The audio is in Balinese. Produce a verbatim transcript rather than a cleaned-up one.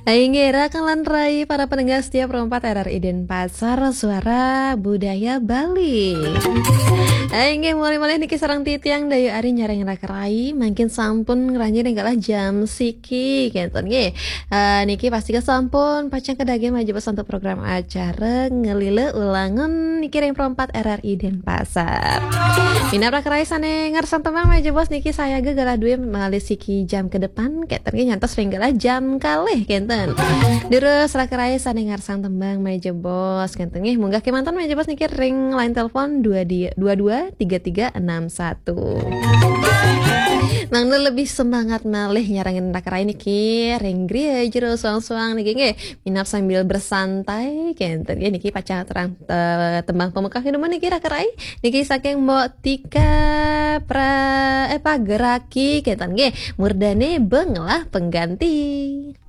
Inggih, rakan lan rai para pendengar setia Pro empat R R I Denpasar, Suara Budaya Bali. Inggih, mulih-mulih niki sareng titiang Dayu Ari nyarengin raka rai, mangkin sampun ngranjing ring galah jam siki, kenten nggih. Eh, niki pasti sampun pacang kedaging malih jebos untuk program acara Ngelila Ulangun niki ring Pro empat R R I Denpasar. Minab raka rai sane ngersang tembang malih jebos niki sayaga galah duwe malih siki jam ke depan, kenten nggih, nyantos ring galah jam kalih, kenten. Durus raka rai sane ngersang tembang malih jebos, kenten nggih, munggah kemanten malih jebos niki ring line telepon dua di-, dua dua tiga tiga enam satu. Mangda lebih semangat malih nyarengin raka rai niki ring griya jero suang-suang niki nggih. Minab sambil bersantai, kenten nggih, niki pacang aturang, eh, tembang pamungkas dumun niki raka rai. Niki saking Mbok Tika Pra-, eh, Pageraki, kenten nggih. Murdane Benglah Pengganti.